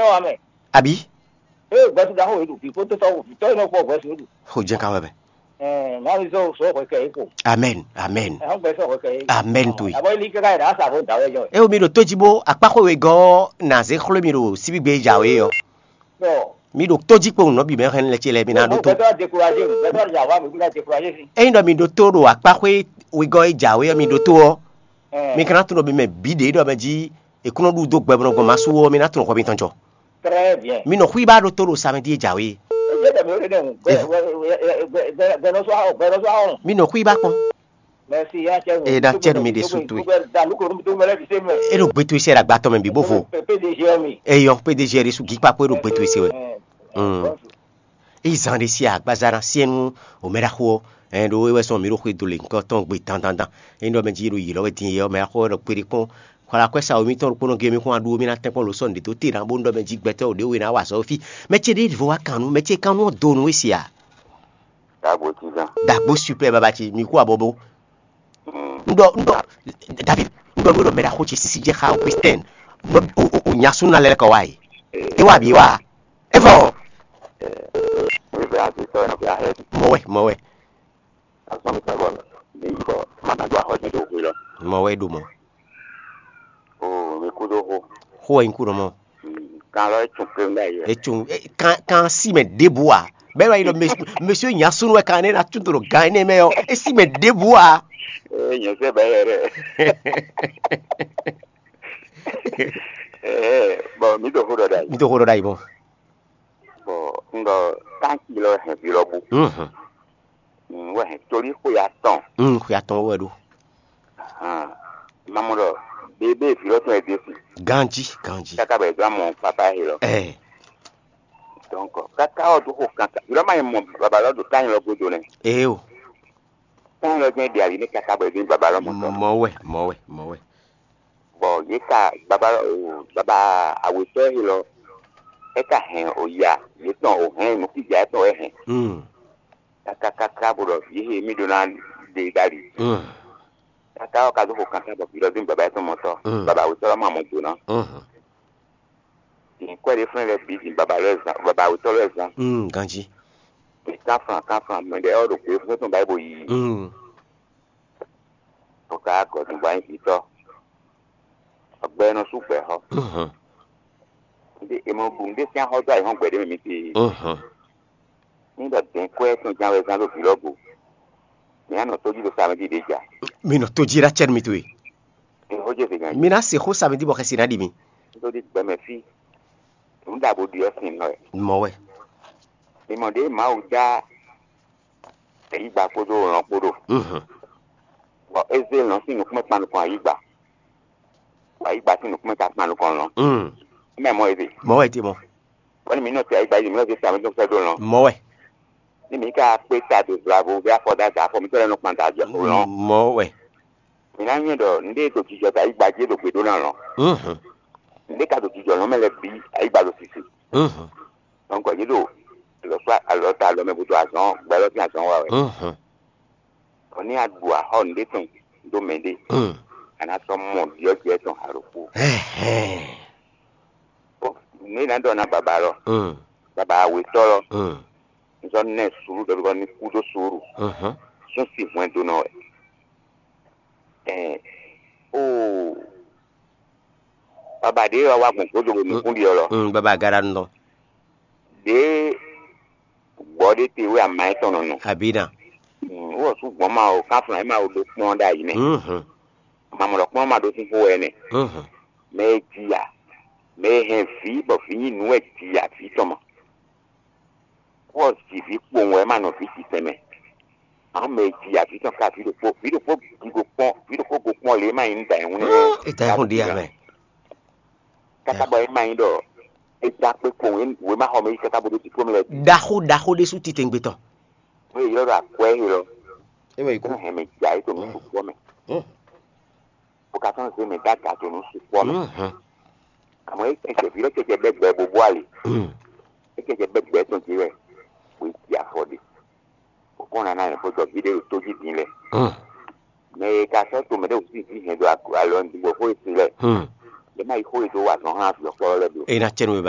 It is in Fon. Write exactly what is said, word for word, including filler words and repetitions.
Ɔ, amɛ. Abi? Ee, gbɛsú ɖaxó yě ɖu, vǐ kpódó tɔ́, vǐ tɔ́ e nɔ kpɔ gbɛsú yě ɖu. Xo jɛ́n ka wɛ bɛ. Ɛɛ, nya mi zɔ sɔ hwɛ kɛ yě ko. Amen, amen. Ɛhɔn gbɛsú hwɛ kɛ yě. Amen to ye. Abɔ ilí kaka yɛ ɖa sa vo da wɛ jɔ. Eo mi ɖo tó jí bó akpáxó wegɔ́ ɔ́ nǎ zé xló mi ɖo síbígbe e jǎwe ɔ́. Bɔ. Mi ɖo tó jí kpowun nɔbí mɛ hɛn lɛ ce lɛ mi ná ɖó tó. Gbɛsú découragé, gbɛsú jà wa mi kúta découragé si. Ényí ɖɔ mi ɖó tó ɖo akpáxó wegɔ́ e jǎwe ɔ́ mi ɖó tó ɔ́, mi ka ná tunɔ mi mɛ bǐ ɖě ɖɔ mɛ jí è kún nɔ ɖu dó gbɛ bɔ nɔ gbɔn ma sú ɔ́, mi ná tunɔ hwɛ mitɔn jɔ. Très bien. Mi nɔ xwíba ɖó tó ɖo samedi e jǎwe. Ejɛ dɛ mi o ɖe dɛ ŋu. Gbɛ gbɛ gbɛ gbɛ gbɛ nɔ sɔ ahɔ, gbɛ nɔ sɔ ahɔ. Mi nɔ xwíba kpɔn. Merci ya cɛ. E na cɛ mi ɖe su towe. Da lu ko mi to mɛlɛ bi se mɛ. E ɖo gbe towe sɛ ɖo agbatɔ mɛ bi bó vo. P D G mi. Eyɔ P D G ɖe su gikpa kpó e ɖo gbe towe se wɛ. Mm. Eyi zan ɖé sí agbaza ná syɛ́n nú wǒmɛɖaxó ɔ́, ɛn ɖó é wɛ sɔn mǐ ɖo xwedó lě ŋkɔ tɔn gbe dandandan. Ényí ɖɔ mɛ jí ɖo yǐ lɔ wɛ din é ɔ́, mɛ axó wɛ ɖɔ kpéɖé kpɔ́n. Xwala kwɛ́ sa wěmítɔn ɖokpónɔ gé mì kún aɖu mì ná tɛ́nkpɔ́n lǒ sɔ́ nǔɖé dó te ná bó ɖɔ mɛ jí gbɛtɔ́ ɖě we ná wa azɔ̌ fí. Mɛ ce ɖé vo wá kan nú mɛ ce kan nú ɔ́ do nú we se a? Dagbo tizan. Dagbo super baba ce mi kú abɔbɔ. Un ɖɔ un ɖɔ David, un ɖɔ nú we ɖɔ mɛ ɖaxó ce sísí jɛ xa Augustin. O o o nya súnnu lɛ́ kɔ wá yi. É wá bǐ wá. É vɔ. Wíwɛ àti tɔ ẹ̀ nɔ fi ahẹ́. Mɔ wɛ, mɔ wɛ. Asɔmi sɔgɔ mi yi bɔ mama do axɔ jɛ do xwe lɔ. Mɔ wɛ ɖo mɔ. O mi kú dó xo. Xó wɛ nyí kú ɖɔ mɔ. Kan lɔ etun kpé ŋu ɖ'ayǐ wɛ. Etun kan kan si mɛ ɖěbǔ a? Bɛ́ wá yi ɖɔ mɛ- monsieur Nyasun wɛ kan ne na tún ɖo gan énɛ́ mɛ ɔ́, é si mɛ ɖěbǔ a? Ee nyɛ sɛ bɛ yɛ dɛ. Ee bɔn mi do xo dɔ ɖ'ayǐ. Mi to xó ɖɔ ɖ'ayǐ mɔ. Bɔn n ɖɔ tanki lɔ hɛn vi lɔ bu. Mhm. N wɛ hɛn tolí xwe atɔn. Mm, xwe atɔn wɛ ɖo. Hàn, mamɔ ɖɔ bébé vi lɔ tɔn yɛ desi. Ganji, ganji. Kaka bɛ gbla mɔ papa he lɔ. Ɛ, Donc kaka ɔ do xo kankan. Yɔrɔ ma yi mɔ baba lɔ do tanyi lɔ godo nɛ. Ee o. Tanyi lɔ jɛn ɖe ali ne kaka bɛ do baba lɔ mɔ tɔ. Mɔ wɛ, mɔ wɛ, mɔ wɛ. Bɔ ye ka baba lɔ o baba awetɔ he lɔ. E ka hɛn o ya ye tɔn o hɛn nukija etɔn e hɛn. Mm. Kakakaka bó ɖɔ vǐ he mì ɖó ná ɖe ɖ'ali. Mm. Kaka ɔ́ ka dó xo kankan bɔ vǐ lɔ dín baba étɔn mɔtɔn. Mm. Baba wětɔ́ lɔ ma mɔ do ná. Mhm. Din kwɛ́ ɖé flɛ́n lɛ́ɛ bǐ din baba lɔ zan baba wětɔ́ lɔ zan. Mm, ganjí. Mɛ kánflan kánflan mɛ ɖe ɔ́ ɖo gběfún tɔn ba yi bo yi. Mm. Bɔ ka gɔ̌dun ba nyí vǐtɔ́. Ɔgbɛ nɔ sú gbɛ̌ xɔ. Mhm. Ɖe è mɔ ɖu nǔɖé sín axɔ́ dó ayǐhɔ́ngbe ɖé mɛ mi tee. Mhm. Ní ɖɔ dɛ̌n kwɛ́ tɔn ján wɛ zán ɖo vǐ lɔ go. Mi ná nɔ tójí ɖo samedi ɖě ja. Mi nɔ tójí ɖó acɛ nú mi towe. Ní xó jɛ zěgan. Mi ná se xó samedi bɔ xɛsi ná ɖi mi. Nítorí gbɛmɛ fí. Nǔ ɖaxó ɖi ɔ́ sin nɔ wɛ. Mɔ wɛ. Mi mɔ ɖě Mawu dá ayǐgba kpódó lɔn kpó ɖo. Mhm. Bɔ é zé lɔn sín nukúnmɛ kpan nukɔn ayǐgba. Bɔ ayǐgba sín nukúnmɛ ka kpan nukɔn lɔn. Mm. Mɛ mɔ ebe. Mɔ wɛ ti mɔ. Bɔ ní mi nɔ te ayǐgba yìí, mi nɔ zé samedi sɛ́ dó lɔn. Mɔ wɛ. Ní mi ka kpé ta do vlavo vɛ afɔ da da afɔ mi tɔ lɛ nɔ kpan da jɔ lɔn. Mɔ wɛ. Mi ná nyɛ ɖɔ nɖé ɖo jijɔ da ayǐgba jí ɖo gbe ɖó ná lɔn. Mhm. Nɖé ka ɖo jijɔ lɔn mɛ lɛ bí ayǐgba ɖo sisi. Mhm. Donc yě ɖo alɔ kpá alɔ ta alɔ mɛ bó ɖo azɔn gbɛ lɔ sín azɔn wa wɛ. Mhm. Bɔ ní a ɖu axɔ nɖé tɔn ɖó mɛ ɖé. Mm. A nǎ sɔ́ mɔ ɖyɔ̌jɛ tɔn alo kú. Ɛhɛn. Nǔ e ná ɖɔ ná baba lɔ, Mm. Baba awetɔ́ lɔ, Mm. n sɔ́ nɛ suɖu ɖɔ ɖɔ ní kú ɖó suɖu. Mhm. Sún si hwɛndo nɔ wɛ. Ɛɛ, oo, baba ɖě wá wá gbɔn gbódò ɖo nukún ɖi ɔlɔ. Mm, baba agaɖa nɔ. Ɖě gbɔ ɖé te wɛ ama yɛn tɔn nɔ nɔ. Abina. Mm, wɔ sú gbɔn ma o, kánflán yɛn ma o ɖo kpɔn ɖ'ayǐ nɛ. Mhm. Mamɔ ɖɔ kpɔn ma ɖo sín xó wɛ nɛ. Mhm. Mɛ e ji ya, mɛ e hɛn vǐ bɔ vǐ nyi nǔ wɛ ji ya vǐ tɔn ma. Wɔ ji vǐ kpowun wɛ ma nɔ vǐ ji tɛnmɛ. Àwọn mɛ e ji ya vǐ tɔn ka vǐ ɖokpó, vǐ ɖokpó gigo kpɔn, vǐ ɖokpó go kpɔn lě ma nyí nú da ɛhún nɛ́. Eta ɛhún ɖe amɛ. Kaka bɔ é ma nyí ɖɔ é dán kpé kpowun wě ma xɔ mɛ yí kaka bó ɖó diplôme lɛ. Ɖaxó ɖaxó ɖésú titewungbe tɔn. Wé ylɔ́ ɖo akwɛ́ élɔ́. É wɛ yi kú. Hɛn mɛ ja é to nǔ sukpɔ́ mɛ. Hmm. Bó ka sɔ́ zé mɛ dó aga to nǔ sukpɔ́ mɛ. Mhm. Àmọ́ é kɛjɛ vǐ lɔ kɛjɛ bɛ́ gbɛ bó bó ali. Hmm. É kɛjɛ bɛ́ gbɛ tɔn jí wɛ. Wé ji afɔ ɖe. Bó kɔn nana yɛ fó jɔ vǐ ɖé ɖo tó jí din lɛ. Hmm. Mɛ e ka sɔ́ to mɛ ɖé wǔ sí vǐ hɛn ɖo alɔ ŋdi bɔ xó e sin lɛ. Hmm. Lě ma yi xó e dó wa zɔn hán vǐ ɔ́ kplɔ́ lɛ́ɛ bló. E na cɛ nú we